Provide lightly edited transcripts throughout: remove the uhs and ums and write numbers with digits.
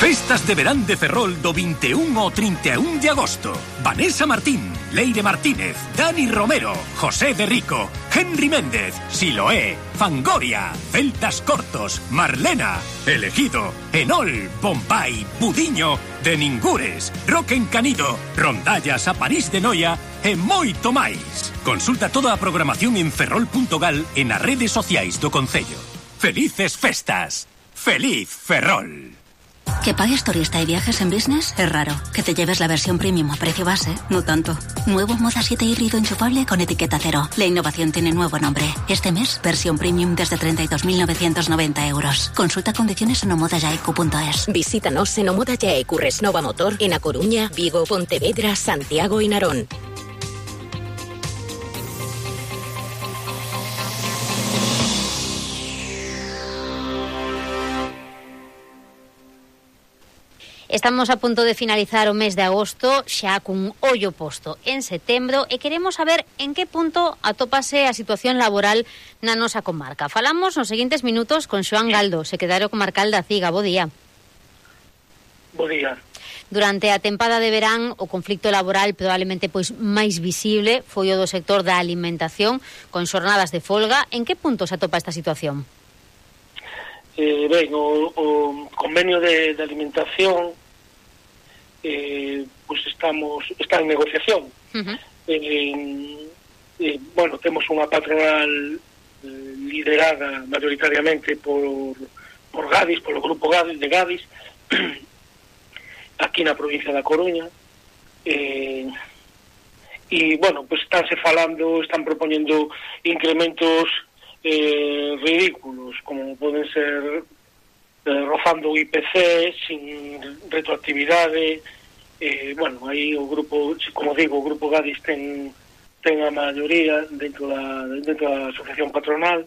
Festas de verán de Ferrol do 21 ao 31 de agosto. Vanessa Martín, Leire Martínez, Dani Romero, José de Rico, Henry Méndez, Siloé, Fangoria, Celtas Cortos, Marlena, Elegido, Enol, Bombay, Budiño, De Ningures, Roque Encanido, Rondallas a París de Noia e moito máis. Consulta toda a programación en ferrol.gal e nas redes sociais do Concello. Felices festas. Feliz Ferrol. ¿Que pagues turista y viajes en business? Es raro. Que te lleves la versión premium a precio base, no tanto. Nuevo Moda 7 híbrido enchufable con etiqueta cero. La innovación tiene nuevo nombre. Este mes, versión premium desde 32.990 euros. Consulta condiciones en omodayaicu.es. Visítanos en Omoda Yaicu Resnova Motor en A Coruña, Vigo, Pontevedra, Santiago y Narón. Estamos a punto de finalizar o mes de agosto, xa cun ollo posto en setembro, e queremos saber en que punto atópase a situación laboral na nosa comarca. Falamos nos seguintes minutos con Xoán Galdo, secretario comarcal da CIGA. Bo día. Bo día. Durante a tempada de verán, o conflicto laboral probablemente pois máis visible foi o do sector da alimentación, con xornadas de folga. En que punto se atopa esta situación? Ben, o convenio de alimentación pues está en negociación. Bueno, temos unha patronal liderada mayoritariamente por Gadis, polo grupo Gadis de Gadis aquí na provincia da Coruña, e bueno, pues están propoñendo incrementos ridículos, como poden ser rozando o IPC sin retroactividade. Bueno, aí o grupo, como digo, o grupo Gadis ten a maioría dentro da asociación patronal,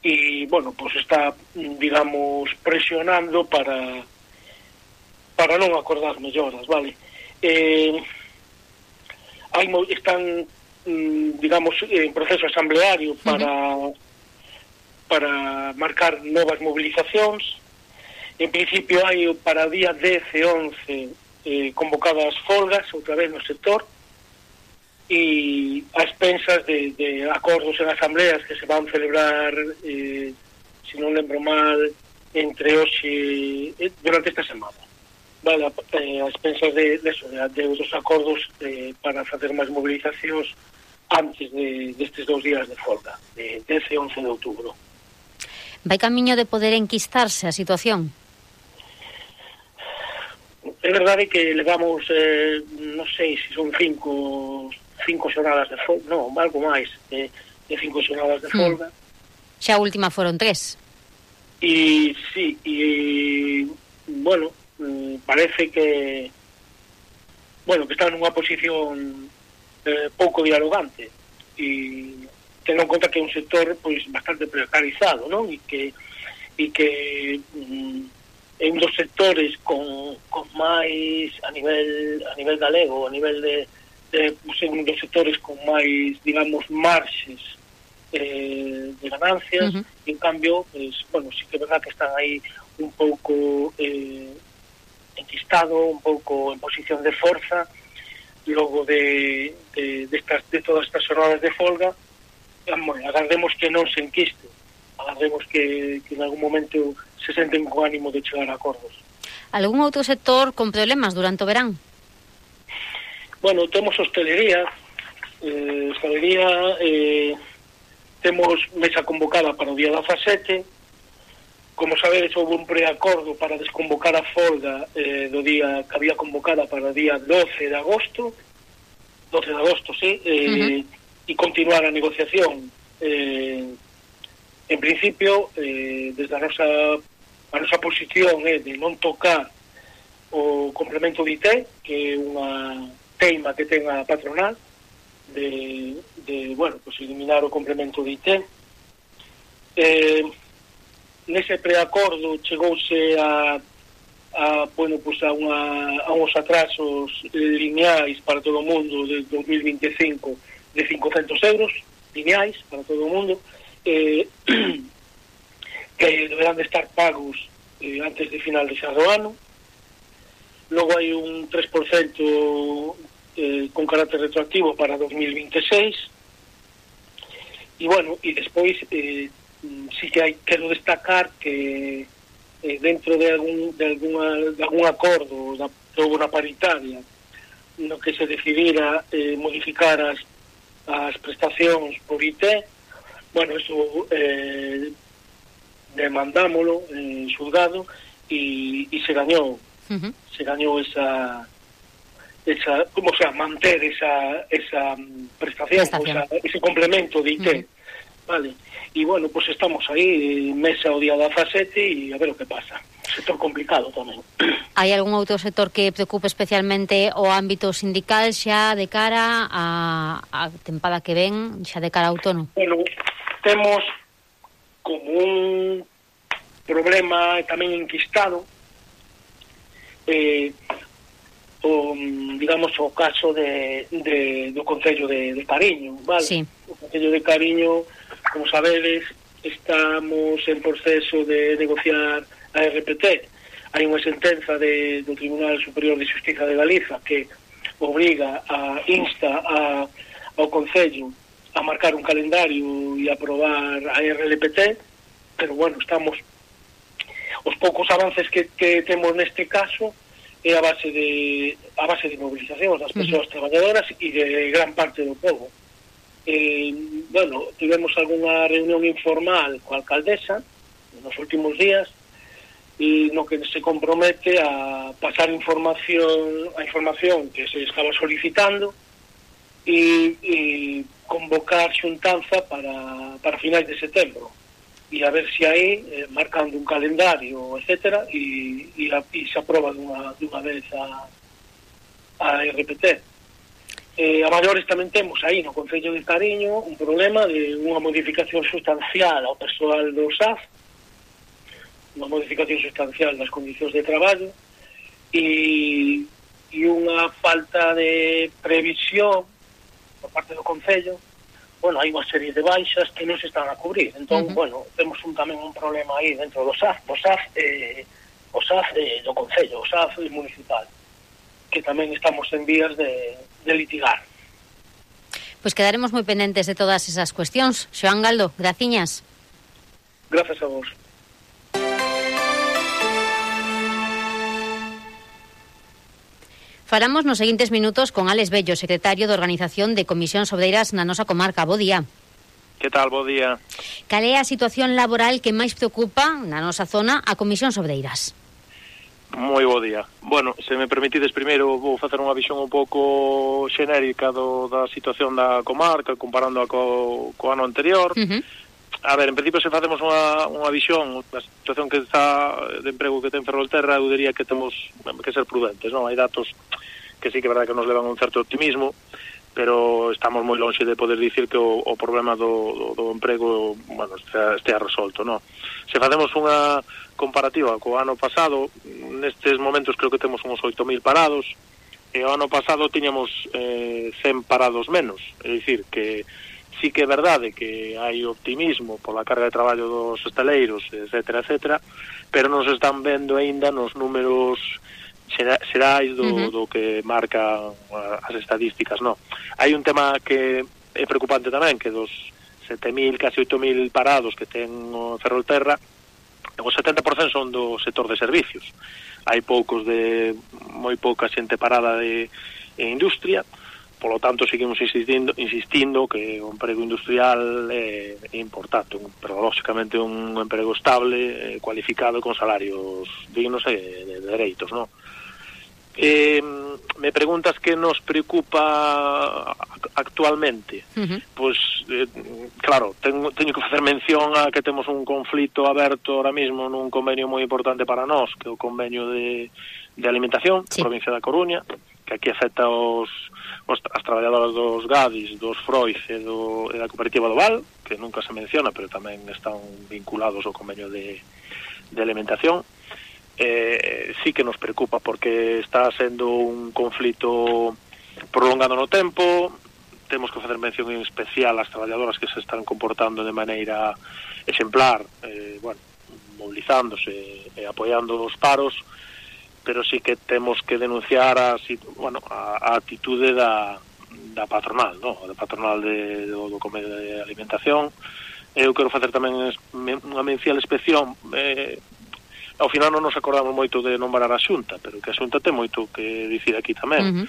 e bueno, pues está, digamos, presionando para non acordar melloras, vale? Están, digamos, en proceso asambleario para marcar novas movilizacións. En principio hai para o día 10 e 11 convocadas folgas outra vez no sector, e a expensas de acordos en asambleas que se van celebrar, se non lembro mal, entre hoxe durante esta semana, vale, a expensas de outros acordos para facer máis movilizacións antes destes 2 días de folga, de 10 e 11 de outubro. Vai camiño de poder enquistarse a situación? É verdade que levamos, non sei se son cinco xornadas de folga, non, algo máis de 5 xornadas de folga. Xa a última foron 3. E sí, bueno, parece que están nunha posición pouco dialogante, e tendo en conta que é un sector pois bastante precarizado, non? E que é un dos sectores con máis a nivel galego, a nivel de un dos sectores con máis, digamos, marxes de ganancias. En cambio, pues, bueno, sí que é verdad que están aí un pouco enquistado, un pouco en posición de forza logo de todas estas jornadas de folga. Agardemos que non se enquiste, agardemos que en algún momento se senten con ánimo de chegar a acordos. Algún outro sector con problemas durante o verán? Bueno, temos hostelería. Temos mesa convocada para o día 17. Como sabedes, houve un preacordo para desconvocar a folga do día que había convocada para o día 12 de agosto, sí, e continuar a negociación. En principio, desde a nosa posición é de non tocar o complemento de IT, que é unha teima que ten a patronal de bueno, pues eliminar o complemento de IT. Nese preacordo chegouse a uns atrasos lineais para todo o mundo de 2025 de 500 euros lineais para todo o mundo, que deberán de estar pagos antes de final de xa do ano. Logo hai un 3% con carácter retroactivo para 2026. E, bueno, e despois sí que quero destacar que dentro de algún acordo da unha paritaria no que se decidira modificar as prestacións por IT, bueno, eso demandámolo en xulgado e se gañou. Se gañou esa como sea, manter esa prestación. Ese complemento de IT. Vale. E, bueno, pues estamos aí, mesa o día 17 e a ver o que pasa. Sector complicado tamén. Hai algún outro sector que preocupe especialmente o ámbito sindical xa de cara a tempada que ven, xa de cara a outono? Bueno, temos como un problema tamén enquistado digamos, o caso do Concello de Cariño, vale? Sí. O Concello de Cariño, como sabedes, estamos en proceso de negociar a RPT. Hai unha sentenza do Tribunal Superior de Xustiza de Galiza que insta ao Concello a marcar un calendario e aprobar a RLPT, pero, bueno, estamos os poucos avances que temos neste caso é a base de movilizacións das persoas traballadoras e de gran parte do povo. Bueno, tivemos algunha reunión informal coa alcaldesa nos últimos días e no que se compromete a pasar a información que se estaba solicitando e convocar xuntanza para finais de setembro e a ver se aí, marcando un calendario, etcétera, e se aproba dunha vez a RPT. A maiores tamén temos aí no Concello de Cariño un problema de unha modificación sustancial ao persoal do SAF, unha modificación sustancial das condicións de traballo e unha falta de previsión por parte do Concello. Bueno, hai unha serie de baixas que non se están a cubrir. Entón, bueno, temos tamén un problema aí dentro do SAF do Concello, o SAF municipal, que tamén estamos en vías de litigar. Pois quedaremos moi pendentes de todas esas cuestións. Xoán Galdo, graciñas. Grazas a vos. Falamos nos seguintes minutos con Álex Bello, secretario de Organización de Comisións Obreiras na nosa comarca. Bo día. Que tal, bo día. Cal é a situación laboral que máis preocupa na nosa zona a Comisións Obreiras? Moi bo día. Bueno, se me permitides, primeiro vou facer unha visión un pouco xenérica da situación da comarca, comparándoa co ano anterior. A ver, en principio, se facemos unha visión da situación que está de emprego que ten Ferrolterra, eu diría que temos que ser prudentes, non? Hai datos que sí que é verdade que nos levan un certo optimismo, pero estamos moi lonxe de poder dicir que o problema do emprego, bueno, estea resolto, non? Se facemos unha comparativa co ano pasado, nestes momentos creo que temos uns 8.000 parados, e o ano pasado tiñamos 100 parados menos, é dicir, que sí que é verdade que hai optimismo pola carga de traballo dos hostaleiros, etcétera, etcétera, pero non se están vendo aínda nos números xerais do que marcan as estadísticas, non? Hai un tema que é preocupante tamén, que dos 7.000, casi 8.000 parados que ten o Ferrolterra, o 70% son do sector de servicios. Hai moi pouca xente parada en industria. Polo tanto, seguimos insistindo que o emprego industrial é importante, pero lógicamente un emprego estable, cualificado, con salarios dignos e de dereitos, non? Me preguntas que nos preocupa actualmente. Pois, claro, teño que facer mención a que temos un conflito aberto ahora mismo nun convenio moi importante para nós, que é o convenio de alimentación, provincia da Coruña, que aquí afecta as traballadoras dos Gadis, dos Froiz e da cooperativa do Val, que nunca se menciona, pero tamén están vinculados ao convenio de alimentación. Sí que nos preocupa porque está sendo un conflito prolongado no tempo. Temos que facer mención en especial ás traballadoras que se están comportando de maneira exemplar, bueno, movilizándose e apoiando os paros. pero sí que temos que denunciar a atitude da patronal, no? Da patronal do Convenio de Alimentación. Eu quero facer tamén unha mención especial. Ao final non nos acordamos moito de nombrar a Xunta, pero que a Xunta ten moito que dicir aquí tamén.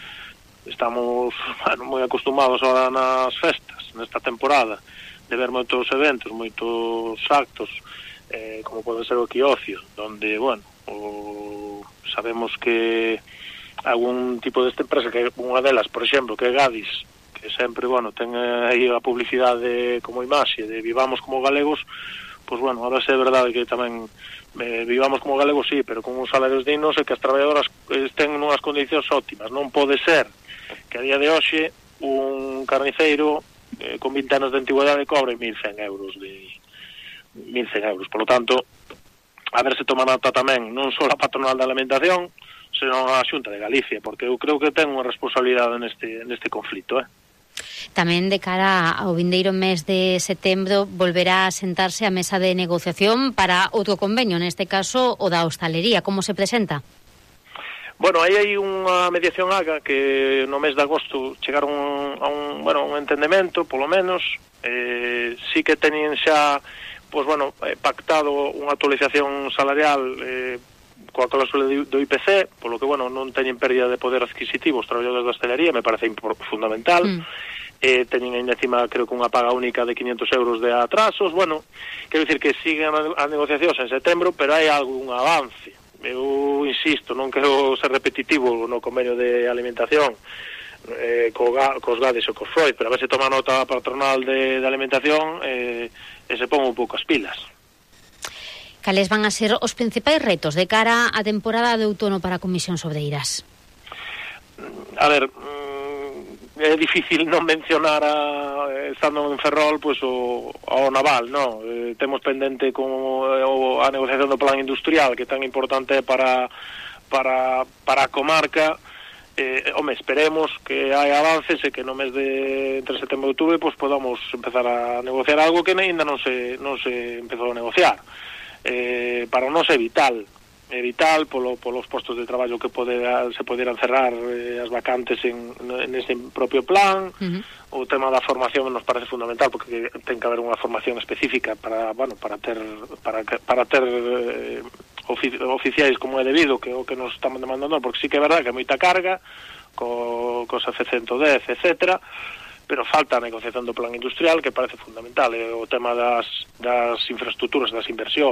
Estamos moi acostumados ahora nas festas, nesta temporada, de ver moitos eventos, moitos actos, como pode ser o Quiocio, donde, sabemos que algún tipo desta empresa, que unha delas, por exemplo, que é Gadis, que sempre, ten aí a publicidade como imaxe de vivamos como galegos, pois, ahora é verdade que tamén vivamos como galegos, sí, pero con uns salarios dignos e que as traballadoras estén nunhas condicións óptimas. Non pode ser que a día de hoxe un carniceiro con 20 anos de antigüedade cobre 1.100 euros. Por lo tanto, a ver se toma nota tamén non só a patronal da alimentación, senón a Xunta de Galicia, porque eu creo que ten unha responsabilidade neste conflito, Tamén de cara ao vindeiro mes de setembro volverá a sentarse a mesa de negociación para outro convenio, neste caso o da hostalería. Como se presenta? Aí hai unha mediación AGA que no mes de agosto chegaron a un entendemento, polo menos. Sí que teñen xa pactado unha actualización salarial coa cláusula do IPC, polo que, non teñen pérdida de poder adquisitivo os traballadores da hostelería, me parece fundamental. Teñen ainda encima, creo que unha paga única de 500 euros de atrasos. Quero dicir que siguen as negociacións en setembro, pero hai algún avance. Eu insisto, non quero ser repetitivo no convenio de alimentación cos Gadis e cos Freud, pero a ver se toma nota a patronal de alimentación e se pon un pouco as pilas. Cales van a ser os principais retos de cara á temporada de outono para a Comisión Obreiras? A ver, é difícil non mencionar estando en Ferrol ao naval, non? Temos pendente como a negociación do plan industrial, que tan importante é para a comarca. Esperemos que hai avances e que no mes de entre setembro e outubro podamos empezar a negociar algo que ainda non se empezou a negociar. Para nós é vital polos postos de traballo que se poderan cerrar as vacantes nese propio plan. O tema da formación nos parece fundamental, porque ten que haber unha formación específica para ter oficiais como é debido, que é o que nos estamos demandando, porque sí que é verdade que hai moita carga cos F-110, etcétera, pero falta a negociación do plan industrial, que parece fundamental, o tema das infraestructuras, das inversións,